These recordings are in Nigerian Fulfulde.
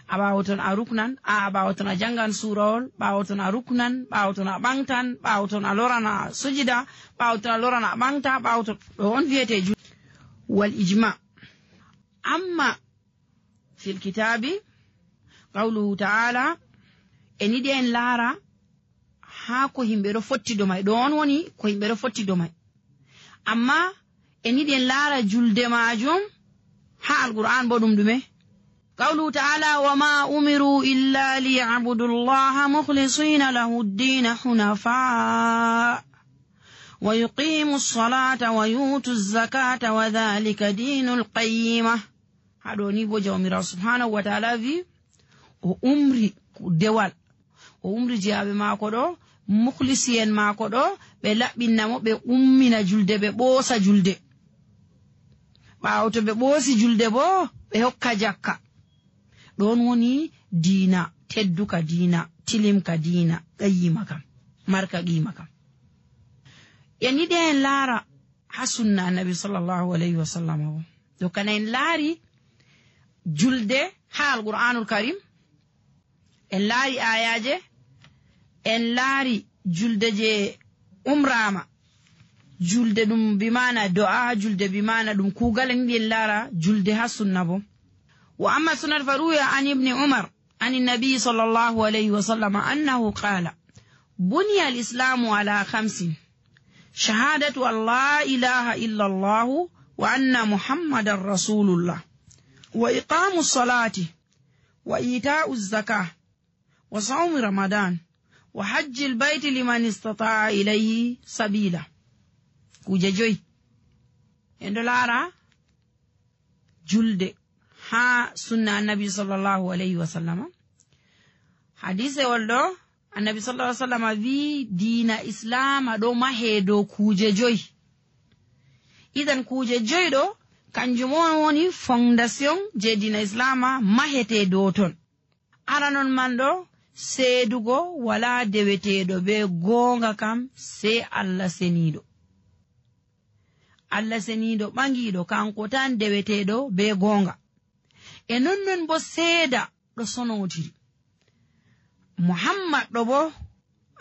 a ɓaawoton a ruknan, a ɓaawoton a jangan suurawol, ɓaawoton a ruknan, ɓaawoton a ɓangtan, ɓaawoton a lorana sujida, ɓaawoton a lorana a ɓangta, ɓaawoton ɗo on wiyete wal ijma. Amma fil kitabi qawluhu ta'ala en yiɗi en laara haa ko himɓe ɗo fotti do may, ɗo on woni ko himɓe ɗo fotti do may. Amma en yiɗi en laara julde majum haa alqur'an bo ɗum ɗume. قوله تعالى وما أمروا إلا ليعبدوا الله مخلصين له الدين حنفاء ويقيموا الصلاة ويؤتوا الزكاة وذلك دين القيمة. هذا نيبو جوميرا سبحانه وتعالى في أمري دوال أمري جابي ماكو دو مخلصين ماكو دو بلابينامو بأمنا جلده ببوسا جلده باوتو ببوسي جلده بو بهوكا جاكا. ɗon woni diina tedduka, diina tilimka, diina qayyima kam, marka qima kam. En yiɗi en laara ha sunna annabi sallallahu alayhi wa sallam o do kana en laari julde ha alqur'anul karim, en laari ayaje, en laari julde je umrama, julde ɗum bimana do'a, julde bimana ɗum kugal. En yiɗi en laara julde ha sunna bo. وأما السنة فروي عن ابن عمر عن النبي صلى الله عليه وسلم أنه قال بني الإسلام على 5: شهادة أن لا إله إلا الله وأن محمد رسول الله وإقام الصلاة وإيتاء الزكاة وصوم رمضان وحج البيت لمن استطاع إليه سبيلا. كوججوي اندلارا جلد ha sunna annabi sallallahu alayhi wa sallam. Hadise woldo annabi sallallahu alayhi wa sallam vi diina islam do mahe do kuje joy. Idan kuje joy do kanjum woni fondation je diina islam mahete do ton. Aranon mando seedugo wala dewetedo be gonga kam se Allah senido. Allah senido bangido kanko tan dewetedo be gonga. E non bo seeda ɗo sonotiri. Muhammad ɗo bo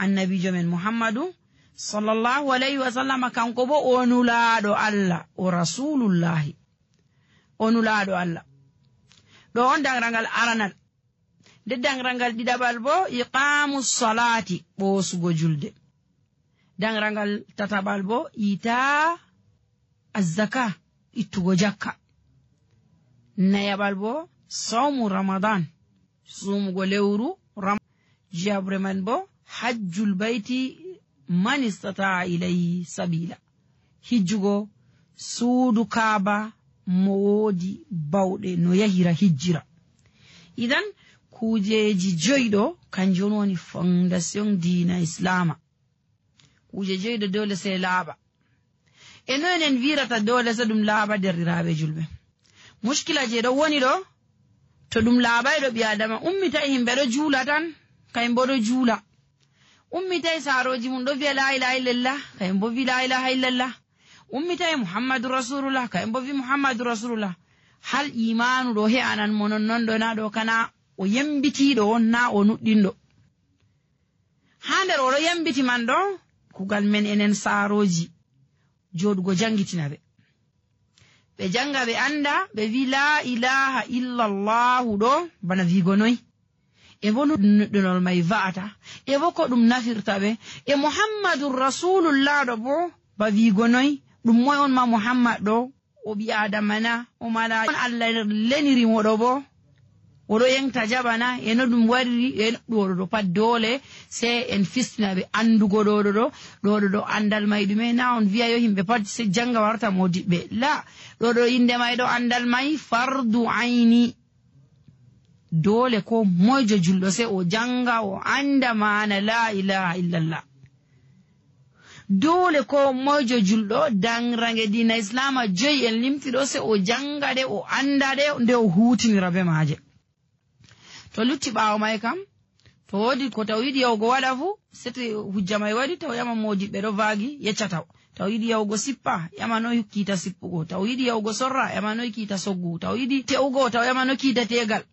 annabijo men Muhammadu sallallahu alayhi wa sallam kanko bo o nulaaɗo Allah o rasulullahi, o nulaaɗo Allah. ɗo on danrangal aranal. Nde danrangal ɗiɗaɓal bo iqamu salati, ɓoosugo julde. Danrangal tataɓal bo ita azzaka, ittugo jakka. Nayaɓal bo sawmu ramadan, sumugo lewru jabre man bo hajjul bayti man istata ilayhi sabila, hijjugo suudu kaaba mo woodi bawɗe no yahira hijjira. Idan kujeji joyɗo kanjum woni fondation diina islama. Kuje joyɗo dole sai laaɓa. E non en wirata dole sai ɗum laaɓa derɗiraaɓe julɓe. Mushkila je ɗo woni ɗo, to ɗum laaɓay ɗo ɓi adama ummitai himɓe ɗo juula tan, kayum bo ɗo juula. Ummitai saaroji mum ɗo wiya la ilaha illallah, kayum bo wi la ilaha illallah. Ummitai muhammadu rasulullah, kayum bo wi muhammadu rasulullah. Hal imanu ɗo he'anan mo nonnon ɗo na ɗo kana o yembitiɗo on na o nuɗɗinɗo. Ha nder oɗo yembiti man ɗo kugal men enen saaroji joɗugo jangitina ɓe. Ɓe janga ɓe anda ɓe wi la ilaha illallahu ɗo bana wigo noy, e bo nuɗɗinol may va'ata, e bo ko ɗum nafirta ɓe, e muhammadun rasulullah ɗo bo ba wigo noy, ɗum moy on ma muhammad ɗo, o ɓi adama na, o mala on Allah leniri mo ɗo bo oɗo yengta jabana, e no ɗum wariri, e ɗo ɗo pat dole sai en fistina ɓe andugo ɗo andal may ɗume. Na on wiya yo himɓe pat se janga warta modiɓɓe, la, ɗo inde may ɗo andal may fardu aini. Dole ko moyjo julɗo sai o janga o anda mana la ilaha illallah. Dole ko moyjo julɗo danrange dina islama joyi en limtiɗo sai o janga de, o anda de, nde o hutinira be maje. To lutti ɓaawo may kam, to wodi ko taw yiɗi yahugo waɗa fu, sete hujja may waɗi taw yama modiɓɓe ɗo vaagi yeccataw. Taw yiɗi yahugo sippa yama noy kiita sippugo, taw yiɗi yahugo sorra yama noy kiita soggu, taw yiɗi te'ugo taw yama no kiita tegal.